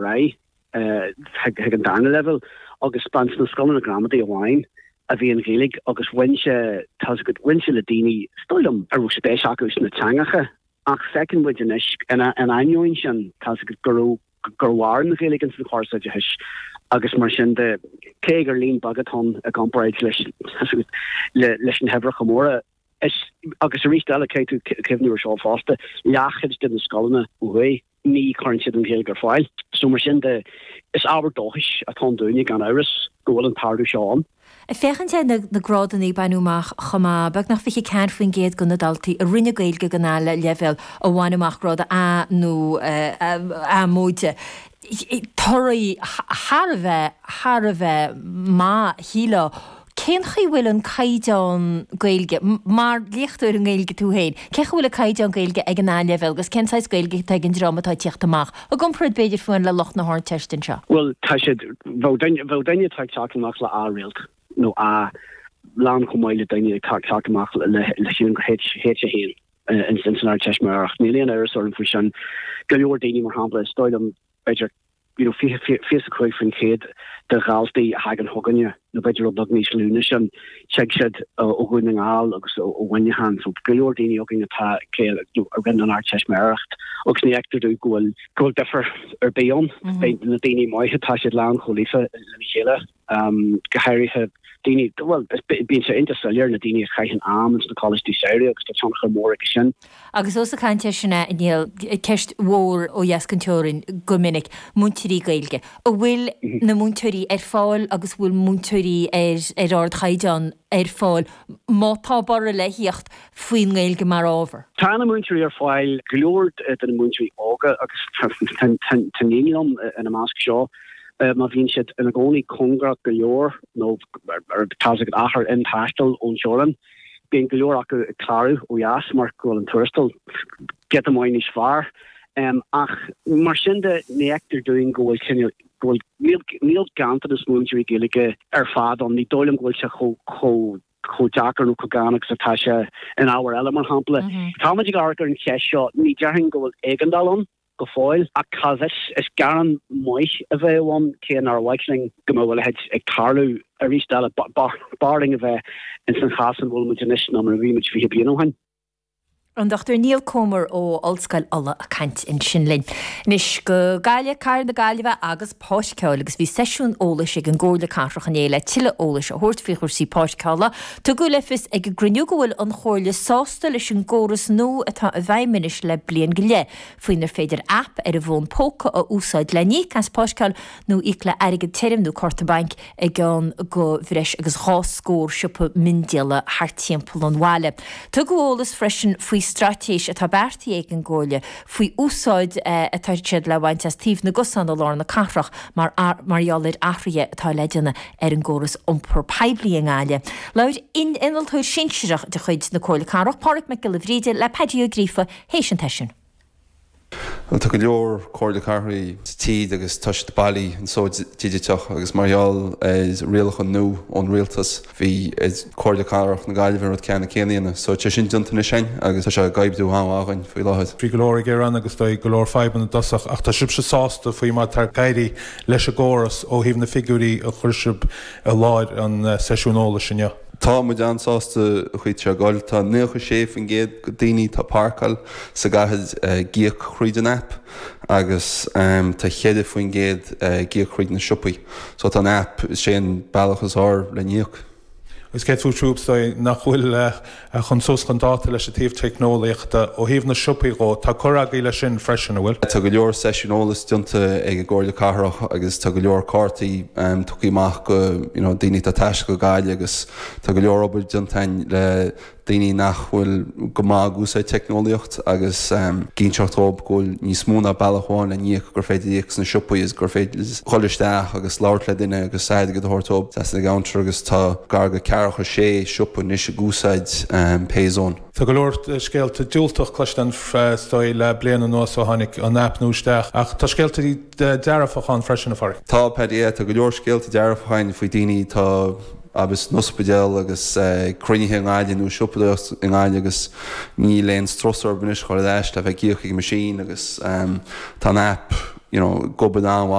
ar aghaidh chuig an darna leibhéal agus ba ins na scoileanna gramadaí amháin a bhí an Ghaeilge agus bhain sé, tá's agat, bhain sé le daoine, is dóigh liom, a raibh spéis acu sna teangacha ach feiceann muid anois, ina ainneoin sin, tá's agat, go raibh, gur mhair an Ghaeilge ins an chóras oideachais agus mar sin de, cé gur líon beag atá ann i gcomparáid leis, tá's agat, leis na huimhreacha móra, is, agus arís eile, caithfidh tú cuimhniú ar seo fosta, leathchuid de na scoileanna ó thuaidh, ní chuireann siad an Ghaeilge ar fáil. So mar sin de, is ábhar dóchais atá ann dúinne, gan amhras, go bhfuil an t-ardú seo ann. Ag féachaint ar na grádanna a baineadh amach chomh maith, beagnach 24% de na daltaí a rinne Gaeilge ag an A-leibhéal a bhain amach grád A nó A móide. Toradh thar a bheith, thar a bheith maith, shílfeá. Cén chaoi a bhfuil an caighdeán Gaeilge, mar léachtóir i nGaeilge tú féin, cén chaoi a bhfuil an caighdeán Gaeilge ag an A-leibhéal agus cén saghas Gaeilge atá ag an dream atá ag tíocht amach, i gcomparáid b'fhéidir fiú amháin le lucht na hArdteiste anseo? Bhuel, tá siad, bheadh duine, bheadh duine atá ag teacht amach le A rialt nó A lán chomh maith le duine atá ag teacht amach le, le sílim gur H, H1 ins an Ardteistiméireacht. Níl aon amhras orm faoi sin. Go leor daoine, mar shampla, is dóigh liom, b'fhéidir, you know, 25% de dhaltaí a thagann chugainne, nó b'fhéidir rud beag níos lú ná sin, tig siad ó Dhún na nGall agus ó Mhuineachán. So go leor daoine againn atá a rinne an Ardteistiméireacht agus ní fheictear domh go bhfuil go bhfuil difear ar bith ann. Beidh na daoine maithe, tá siad lán chomh líofa lena chéile. Go háirithe daoine, bhuel, bíonn sé iontach soiléir na daoine a chaitheann am ins na coláistí samhraidh agus tá tionchar mór aige sin. Agus ós ag caint air sin a Niall, ceist mhór ó dheas den teorainn go minic, múinteoirí Gaeilge. An bhfuil na múinteoirí ar fáil agus an bhfuil múinteoirí ar ar ardchaighdeán ar fáil má tá borradh le thíocht faoin nGaeilge mar ábhar? Tá na múinteoirí ar fáil, go leor de na múinteoirí óga agus tá iníon liom ina measc seo. Má bhíonn siad ina gcónaí cóngarach go leor nó tá's agat achar intaistil ón teorainn, bíonn go leor acu ag clárú ó dheas mar go bhfuil an tuarastal giota maith níos fearr. Ach mar sin de, ní fheictear dúinn go bhfuil cineál, go bhfuil, níl ganntanas múinteoirí Gaeilge ar fad ann. Ní dóigh liom go bhfuil sé chomh chomh deacair nó chomh gann agus atá sé in ábhair eile, mar shampla. Táimid ag amharc ar an cheist seo, ní déarfainn go bhfuil éigeandáil ann. go fóill. Ach cá bhfios, is gearán maith a bheadh ann, cé nár mhaith linn go mbeadh a leithéid ag tarlú arís eile. B'fhearr linn a bheith ins an chás ina bhfuil muid anois ná mar a bhí muid 20 bliain ó shin. An Dr Niall Comer ó Ollscoil Uladh ag caint ansin linn. Anois go Gaillimh, Cathair na Gaillimhe agus páirceáil agus bhí seisiún eolais ag an gComhairle Cathrach inné le tuilleadh eolais a thabhairt faoi chúrsaí páirceála. Tugadh le fios ag an gcruinniú go bhfuil an Chomhairle sásta leis an gcóras nua atá i bhfeidhm anois le bliain go leith, faoinar féidir aip ar an bhfón póca a úsáid le n-íoc as páirceáil nó íoc le airgead tirim nó cárta bainc i gceann de bhreis agus 2 scór siopa miondíola thart timpeall an bhaile. Tugadh eolas freisin faoi straitéis atá beartaithe ag an gComhairle faoi úsáid atá siad le bhaint as taobh na gcosán i lár na cathrach mar mar gheall ar athruithe atá le déanamh ar an gcóras iompar poiblí i nGaillimh. Labhair innealtóir sinsearach de chuid na Comhairle Cathrach, Páraic Mac Giolla Bhríde, le Paddy Ó Gríofa théis an tseisiúin. Bhuel, tá go leor Comhairle Cathraí sa tír agus tá siad bailí anso digiteach agus mar gheall ar rialacha nua ón rialtas, Bhí ar Comhairle Cathrach na Gaillimhe an rud ceanna céanna a dhéanamh. So tá sé sin déanta anois againn agus tá sé ag oibriú an-mhaith againn faoi láthair. Bhí go leor gearán agus dóigh go leor fadhbanna i dtosach ach tá sibhse sásta faoi mar atá ag éirí leis an gcóras ó thaobh na figiúirí a chuir sibh i láthair an seisiún eolais inniu. Tá muid an-sásta an chaoi atá sé ag goil. Tá 96% de daoine atá ag páirceáil sa gcathair ag íoc thríd an aip agus tá 4% ag íoc thríd na siopaí. So tá an app, is é an bealach is fearr le n-íoc. Agus cé fúthu is dóigh nach bhfuil chun suas chun dáta leis an taobh teicneolaíochta ó thaobh na siopaí dhó, tá cur agaibh leis sin freisin, an bhfuil? Tá go leor seisiún eolais déanta ag an gComhairle Cathrach agus tá go leor cártaí tugtha amach go you know daoine atá ag taisteal go Gaillimh agus tá go leor obair déanta againn le daoine nach bhfuil go maith ag úsáid teicneolaíocht agus ag inseacht dhóibh go bhfuil níos mó ná bealach amháin le n-íoc, gur féidir íoc sna siopaí agus gur féidir dhul isteach agus labhairt le duine agus airgead a thabhairt dóibh trasna an gcounter agus tá gar go ceathracha sé siopa anois ag úsáid Payzone. Tá go leor scéalta diúltach cloiste againn is dóigh le bliain anuas ó tháinig an aip nua isteach ach tá scéalta dearfacha ann freisin, a Pháraic. Tá, Paddy, yeah, tá go leor scéalta dearfacha ann faoi daoine atá agus san ospidéal agus cruinnithe i nGaillimh nó siopadóireacht i nGaillimh agus níl aon strus orthu anois dhul ar ais le bheith ag íoc ag an machine agus tá an app. you know, ag obair an-mhaith.